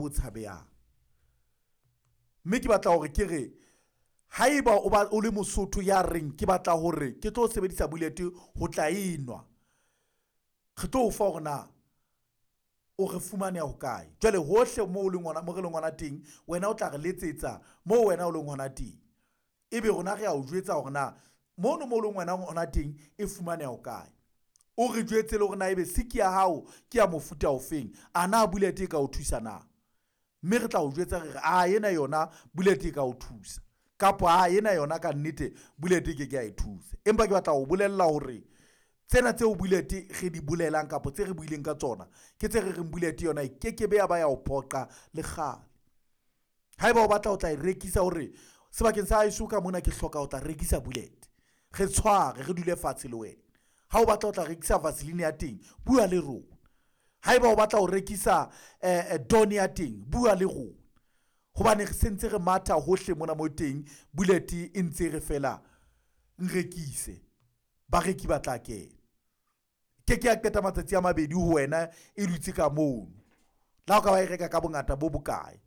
Bo tshabehang. Mme ke batla hore ke re haeba o ba o le Mosotho ya reng ke batla hore ke tlo sebedisa bullet ho tla enwa, re tlo o fa hore na o re fumaneha hokae. Jwale hohle mo o leng hona mo re leng hona teng, wena o tla re letsetsa moo wena o leng hona teng. Ebe rona re a o jwetsa hore na mono mo leng wena hona teng e fumaneha hokae. O re jwetse le hore na ebe siki ya hao ke ya mofuta ofeng, a na bullet e ka o thusa na. Mme re tla o jwetsa re re a ena yona bullet e ka o thusa, kapa a ena yona ka nnete bullet e ke ke ya e thusa. Empa ke batla ho bolella hore tsena tseo bullet re di bolelang kapa tse re buileng ka tsona ke tse re reng bullet yona e kekebe ya ba ya o phoqa le kgale. Haeba o batla ho tla e rekisa hore sebakeng sa haeso ka mona ke hloka ho tla rekisa bullet, re tshware re dule fatshe le wena. Ha o batla ho tla rekisa vaseline ya teng, bua le rona. Haeba o batla ho rekisa don ya teng, bua le rona. Hobane re sentse re matha hohle mona mo teng, bullet e ntse re fela nrekise, bareki ba tla kena. Ke ke ya qeta matsatsi a mabedi ho wena e dutse ka mono. Le ha o ka ba e reka ka bongata bo bokae.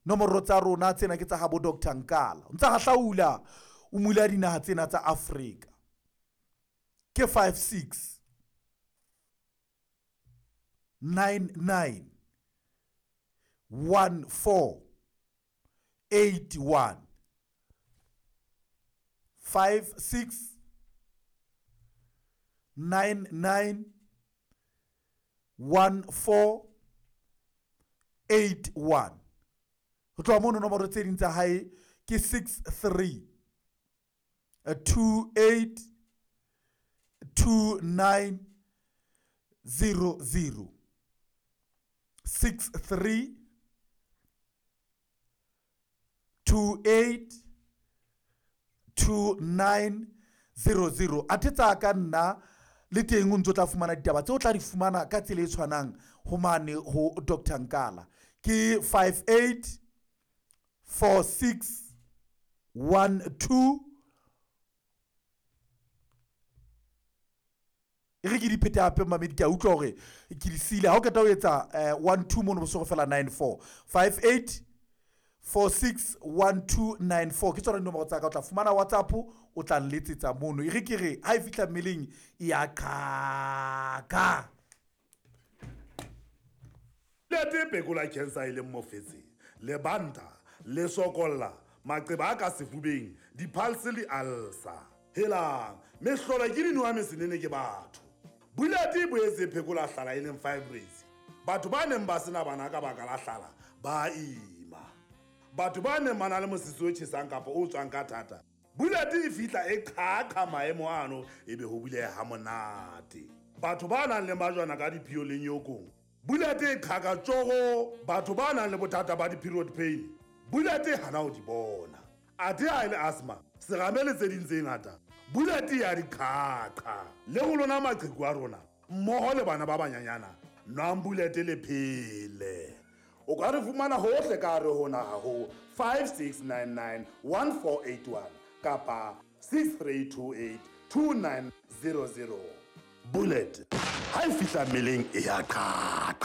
Nomoro tsa rona tsena ke tsa habo Dr. Nkala. O ntsa hahlaula o mula dinaha tsena tsa Afrika. Ke 56 99 14 81 56 99 14 81. Ho tloha mono nomoro tse ding tsa hae ke 63 28 29 00 63 28 29 00. Athe tsa ka nna le teng o ntso tla fumana ditaba tseo tla di fumana ka tsela e tshwanang ho mane ho Dr. Nkala ke 58 46 12. E re ke di phete hape mamedi, ke a utlwa hore ke di siile. Ha o qeta ho etsa 12 mono bosogo fela 94 58 46 1294 ke tsona dinomoro tsa ka. O tla fumana WhatsApp, o tla nletsetsa mono. E re ke re ha e fihla mmeleng e ya qaka. Lete phekola cancer e leng mofetse, lebanta, le sokolla, maqeba a ka sefubeng, di-pulse le ulcer. Helang, mehlolo ke dinowa mesenene ke batho. Bullet e boetse e phekola hlala e leng fibroids. Batho ba neng ba sena bana ka baka la hlala ba ima. Batho ba neng ba na le mosese o tjhesang kapa o tswang ka thata, Bullet e fihla e qhaqha maemo ano ebe ho buleha ha monate. Batho ba nang le majwana ka diphio le nyokong, Bullet e qhaka tjogo. Batho ba nang le bothata ba di-period pain, Bullet e hana ho di bona. Athe ha e le asthma, serame le tse ding tse ngata, Bullet ya di qhaqha. Le ho lona maqheku a rona mmoho le bana ba banyanyana, nwang Bullet le phele. O ka re fumana hohle ka hare ho naha ho 5699 1481 kapa 6328 2900. Bullet ha e fihla mmeleng e ya qhaqha.